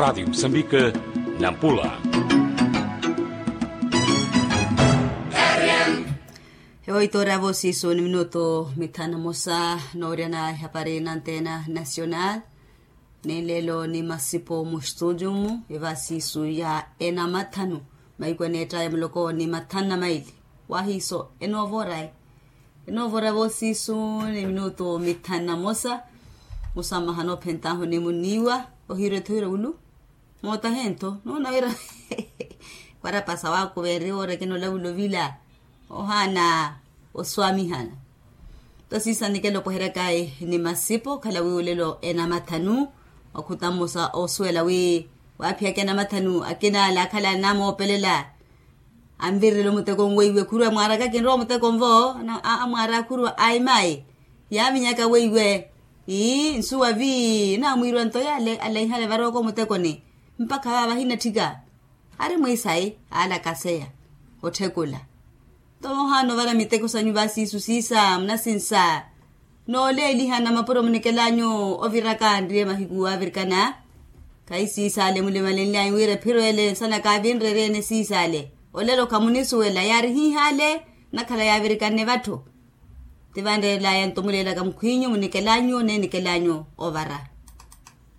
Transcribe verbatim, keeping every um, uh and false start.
Radiyo musambika, nampula. Ewo itoora voosiisu ni minutu mithanu na mosa. Nooryana ehapari nanteena nasional, ni lelo ni masipo mu studio mu evaasiisu ya enamathanu, mahiku eneetta ya muloko ni mathanu na maili. Wahiiso enoovorai. Enoovora voosiisu ni minutu mithanu na mosa. Musammaha noophentahu ni munniiwa ohiira ethoira wulu. Mootahe ntho noona wira warapasa wakuveeri woora ekina olavula ovila, ohaana oswaamihana. Nto siisa nikela opoherya kayi ni masipo okhala wi olelo enamathanu. Wakhuta mmosa oosuwela wi waaphiyaka enamathanu akina ale akhala anamoopelela. Anvirele omuteko onweiwe khurwa mwaaraka kinrowa omuteko nvo. Amwaara akhurwa aimai yaaminyaka weiwe. Ii nsuwa vi namwiirwa nto yale alaihale varooko omutekoni. Mpakha vaava ahinatthika ari mwiisayi alakaseya otthekula. Nto ohaana ovara miteko sanyu vaasiisu siisa munasinsa. Nooleelihana mapuro munikelaanyu oviraka nriye mahiku avirikana. Khayi siisale mulimalenlyanyu wira ephiro ele nsana kaavinreryene siisale. Olelo khamunisuwela yaari hiihale. Nakhala yaavirikanne vatthu. Tivanreerelaya nto muleelaka mukhwinyu munikelaanyu neenikelaanyu ovara.